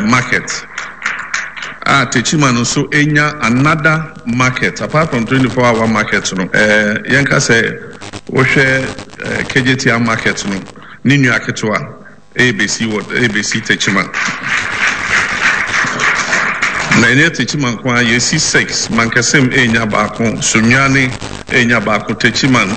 market a Techiman nso enya another market apart from 24 hour market no. Yɛnka sɛ wohwɛ Kejetia market no ne nua ketewa rebesi wɔ rebesi Techiman. Na ɛnyɛ Techiman nko ara, yɛsi six, Mankessim renya baako, Sunyani renya baako, Techiman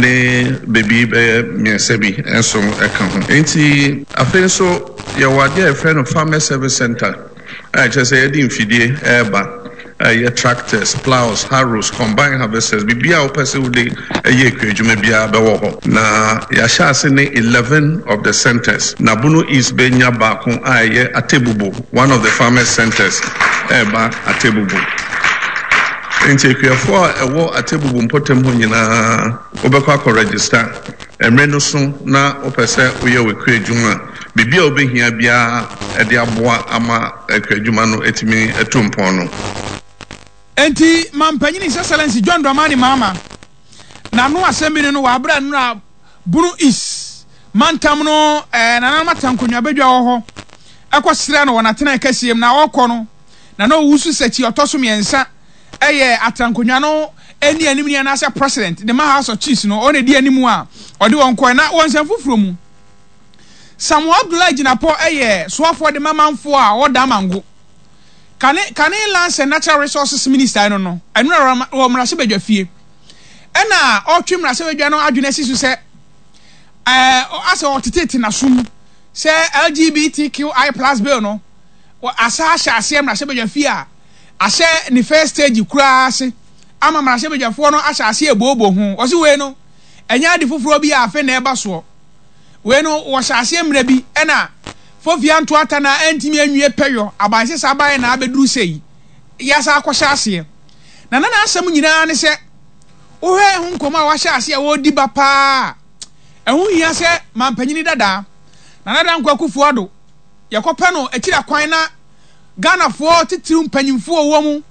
ne baabi bɛyɛ mmiɛnsa bi nso ka ho. Enti afei nso yɛwɔ adeɛ a yɛfrɛ no Farmers Service Centre a ɛkyerɛ sɛ yɛde mfidie reba. Ɛyɛ tractors, ploughs, harrows, combine harvesters, biribiara a wopɛ sɛ wode yɛ akuadwuma biara bɛwɔ hɔ. Na yɛahyɛ ase ne 11 of the centres. Na Bono East bɛnya baako a ɛyɛ Atebubu, one of the farmers centres ɛreba Atebubu. Enti akuafoɔ a ɛwɔ Atebubu mpɔtam hɔ nyinaa wobɛkɔ akɔ register. Mmere no so na wopɛ sɛ woyɛ w'akuadwuma a, biribi a wobɛhia biara de aboa ama akuadwuma no atumi atu mpɔn no. Enti Mampanyin His Excellency John Dramani Mahama n'ano asɛm bi ne no wɔ abere a nnora Bono East mantam no nananom atena nkonnwa badwa wɔ hɔ ɛkɔ srɛ no wɔ n'atenae kɛseɛ mu na ɔrekɔ no na na ɔwusu sɛkyi ɔtɔ so mmiɛnsa ɛyɛ atenankonnwa no ɛni anim ni anaasɛ president de ma House of Chiefs no ɔna ɛdi anim a ɔde wɔn kɔɛ na wɔ nsɛm foforɔ mu Samuel Abdullahi Jinapor yɛ soafoɔ de ma manfoɔ a wɔwɔ Damango. Kane kane Lands and Natural Resources Minister no no, ɛno na wɔ mmarahyɛbadwa fie. Ɛna ɔretwe mmarahyɛbadwa no adwene asi so sɛ ɛɛ asɛ ɔtetete n'asom sɛ LGBTQI plus bill no asa ahyɛ aseɛ mmarahyɛbadwa fie a ahyɛ ne first stage koraa ase ama mmarahyɛbadwafoɔ no ahyɛ aseɛ ebooboo ho. Ɔsi wei no ɛnyɛ ade foforɔ bi a afe na ɛba soɔ. Wei no wɔhyɛ aseɛ mmerɛ bi ɛna Fofia Ntoata na antumi anwie pɛyɔ abansesa baeɛ na abɛduru sei yɛasa akɔhyɛ aseɛ. Na na n'asɛm nyinaa ne sɛ wohwɛ ɛho nkɔmmɔ a wahyɛ aseɛ a wɔredi ba paa a ɛho hia sɛ mampanyini dadaa Nana Dankwa Akufo Addo yɛkɔpɛ no akyiri akwan na Ghanafoɔ titiriw mpanyimfoɔ wɔ mu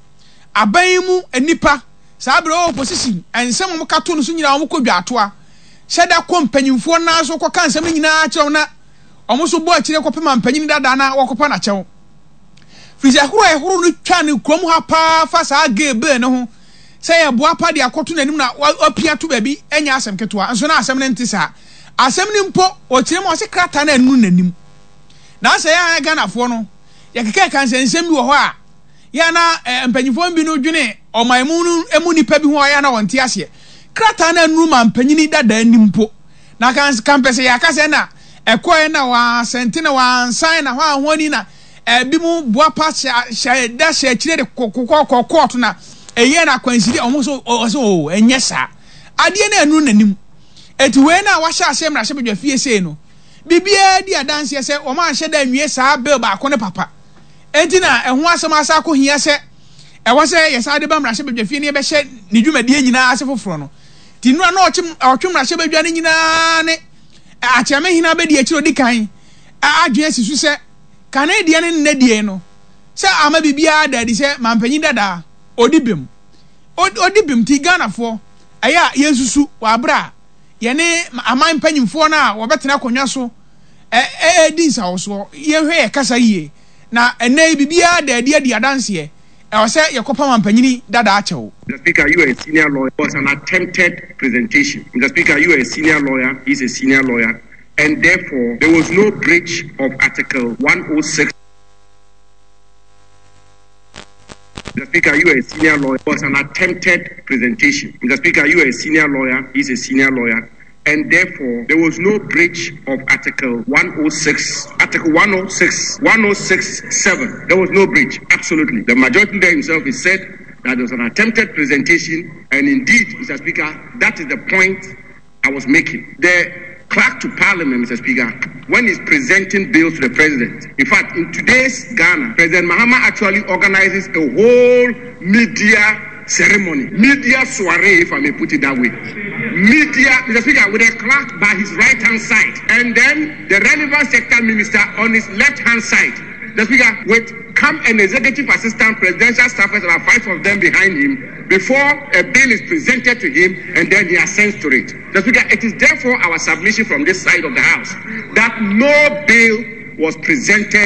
aban yi mu nnipa saa berɛ wɔ opposition nsɛm a wɔka to no so nyinaa wɔkɔ dwaatoa hyɛ da kɔ mpanyimfoɔ nan so kɔka nsɛm no nyinaa kyerɛ wɔn na wɔn nso bɔ akyire kɔpem ampanyin dada na wɔkɔpa no akyɛw. Firi sɛ horo a ɛhoro no twa ne kurom ha paa fa saa gay bill no ho sɛ yɛboa pa de akɔto n'anim na wapia to baabi ɛnyɛ asɛm ketewa nso na asɛm no nte saa. Asɛm no mpo ɔkyerɛ mu ɔse krataa no anunu n'anim. Na asɛ yɛn a Ghanafoɔ no yɛkeka nsɛnsɛm bi wɔ hɔ a yɛ na eh, mpanyinfoɔ bi no dwene ɔman mu no mu nipa bi ho a yɛ na wɔnte aseɛ. Krataa no anuru ma mpanyini dada anim mpo. Na kan kampɛ sɛ yɛaka sɛ na ɛkɔɛ na wɔasɛnte na wɔansan na hɔ a ho ani na ebi mu boapa hyɛ da hyɛ akyire de kɔkɔ kɔ kɔɔto na ɛyɛ na akwanside ɔmo so ɔsɛ o ɛnyɛ saa. Adeɛ no anuru n'anim. Eti wei na wahyɛ aseɛ mmarahyɛbadwa fie sei no biribiara di adanseɛ sɛ wɔn anhyɛ da nwie saa bill baako no papa. Enti na ɛho asɛm asan akɔhia sɛ ɛwɔ sɛ yɛsan de ba mmarahyɛbadwafie na yɛbɛhyɛ ne dwumadie nyinaa ase foforɔ no. Nti nnora na ɔkye ɔtwe mmarahyɛbadwa no nyinaa ne Akyeamehene abɛdi akyire ɔdi kan adwene asi so sɛ kane deɛ ne nnɛ deɛ no sɛ ama biribiara da adi sɛ mampanyin dadaa ɔdi bem. Ɔdi bem nti Ghanafoɔ ɛyɛ a yɛnsusu wɔ aberɛ a yɛne aman mpanyinfoɔ no a wɔbɛtena akonnwa so redi nsawɔsoɔ. Yɛnhwɛ yɛn kasa yie. Na ɛnnɛ yi biribiara da adi adi adanseɛ. Ɛwɔ sɛ yɛkɔpa mampanyini dada akyɛw. Mr. Speaker, you are a senior lawyer. Was an attempted presentation. Mr. Speaker, you are a senior lawyer. He's a senior lawyer. And therefore, there was no breach of Article 106. Mr. Speaker, you are a senior lawyer. Was an attempted presentation. Mr. Speaker, you are a senior lawyer. He's a senior lawyer and therefore there was no breach of Article 106, Article 106, 106, 7. There was no breach, absolutely. The majority leader himself has said that there was an attempted presentation, and indeed, Mr. Speaker, that is the point I was making. The clerk to parliament, Mr. Speaker, when he's presenting bills to the president. In fact, in today's Ghana, President Mahama actually organizes a whole media ceremony, media soiree, if I may put it that way. Media, Mr. Speaker, with a clerk by his right hand side, and then the relevant sector minister on his left hand side. The Speaker, with come an executive assistant, presidential staffers, about five of them behind him, before a bill is presented to him, and then he assents to it. The Speaker, it is therefore our submission from this side of the House that no bill was presented.